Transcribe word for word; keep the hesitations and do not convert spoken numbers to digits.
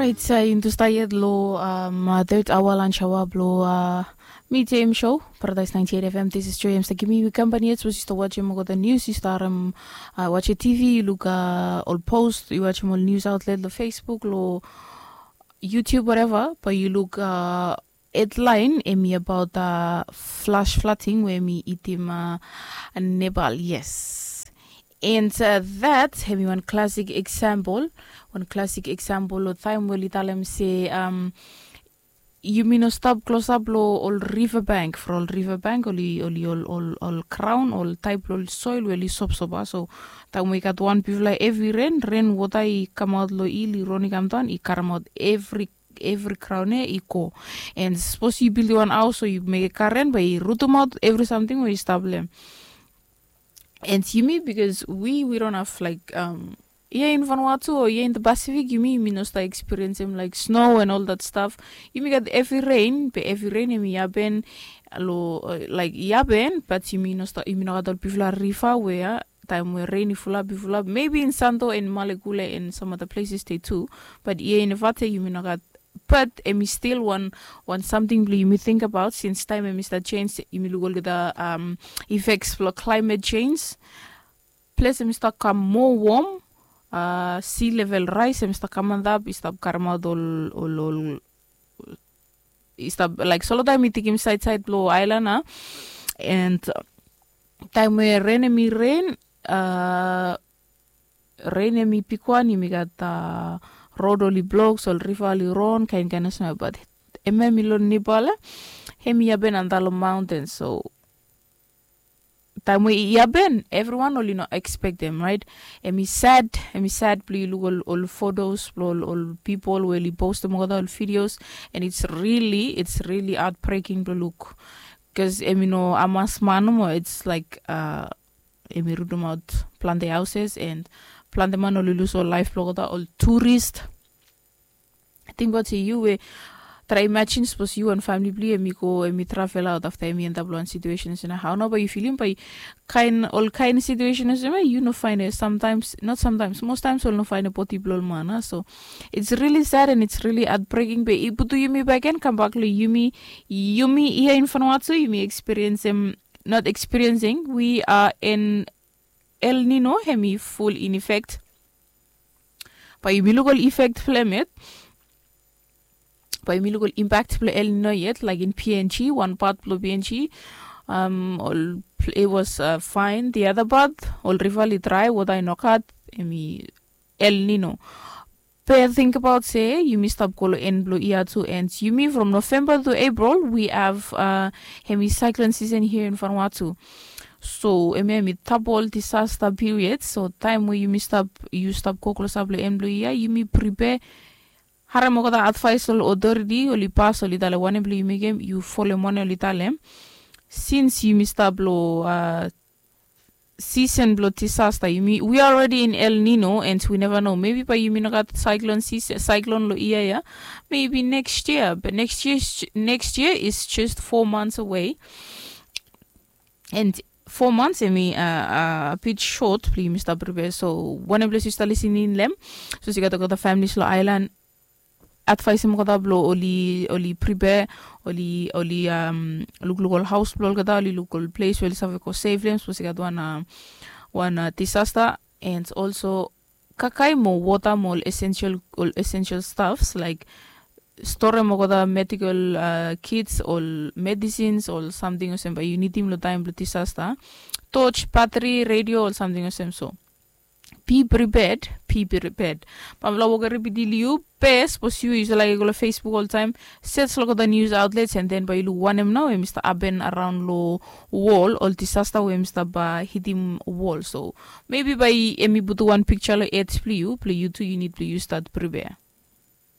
It's uh, into stayed lo um uh, third hour lunch hour blo uh, medium show Paradise ninety-eight F M. This is Joy. I'm stuck me with company. It's was just watching mo the news. You start um uh, watch a T V. You look uh, all post. You watch all news outlet, the Facebook, lo YouTube, whatever. But you look uh, headline emi about uh, flash flooding where mi itim uh, Nepal. Yes. And uh, that hemi one classic example, one classic example of time where li talem se um, yumi no stap klosap lo ol river bank for ol river bank oli oli ol ol ol crown ol type lo ol soil where li sopsopa. So time we gat one bifla every rain rain water i come out lo i li roni come down i karem out every every crown e i go. And suppose you build one house so you make a current but i rutum out every something where you stop them. And yumi because we we don't have like um here in Vanuatu or here in the Pacific, yumi yumi no start experience him like snow and all that stuff. Yumi got every rain, but every rain him yaben lo uh, like yaben, but yumi no start yumi no got all people are river where time where rain full up, full up. Maybe in Santo and Malekule and some other places they too. But here in Vate, yumi no got but emi still one one something blo yumi think about since time emi start change yumi look olgeta um, effects blo climate change. Ples emi start kam more warm uh, sea level rise emi start kam antap i start karem out ol ol ol i start like solo time i tikim side side blo island a and time we rain emi rain uh, rain emi pik wan yumi gat uh, road oli blok so river oli ron kain kain osma but emi emi lo Nepal emi yaben antalo mountain so time we yaben everyone oli no expect them right. Emi sad emi sad blo you look all, all photos blo all, all people where you post them all all videos and it's really it's really heartbreaking to look because emi no amas man mo it's like uh, emi rutum out plante houses and plante man oli lose all life blo all tourist. Think about you we try imagine suppose you and family bli emi go emi travel out after emi end up one situation is how no but you feeling by kind all kind situation is you no find it sometimes not sometimes most times all no find a body blow mana so it's really sad and it's really heartbreaking but ibutu yumi back and come back lo yumi yumi here in Vanuatu yumi experience him not experiencing we are in El Nino hemi full in effect. But yumi look all effect blo hem yet. But yumi look all impact blo El Nino yet, like in P N G, one part blo P N G. Um, all it was uh, fine. The other part, all river li dry, water i no gat, hemi El Nino. But think about say yumi stop kolo en blo ia tu and yumi from November to April we have uh, hemi cyclone season here in Vanuatu. So hemi hemi double disaster period. So time we yumi stop you stop go close up lo en blo ia yumi prepare. Harem okota advice ol authority oli pass oli talem wanem blo yumi mekem you follow wanem oli talem. Since yumi stop lo uh, season blo disaster yumi we are already in El Nino and we never know maybe by yumi no gat cyclone season cyclone lo ia ia maybe next year but next year next year is just four months away. And four months hemi uh, uh, a bit short blo yumi stop prepare so wanem blo yumi start listening lem. So si gat okota families lo island advice em kota blo oli oli prepare oli oli um look look ol house blo olgeta oli look ol place we oli save go save them suppose i gat wan uh, wan uh, disaster and also kakai mo water mo ol essential ol essential stuffs like store mo kota medical uh, kits ol medicines ol something osem ba you need him lo time blo disaster torch battery radio ol something osem so be prepared be prepared. Pamela woke repeat iliu pe suppose you use like go Facebook all time search look at the news outlets and then by ilu wanem now mr aben around lo wall all disaster we mr ba hit him wall so maybe by emi butu one picture lo ads play you play you too you need to use that prepare.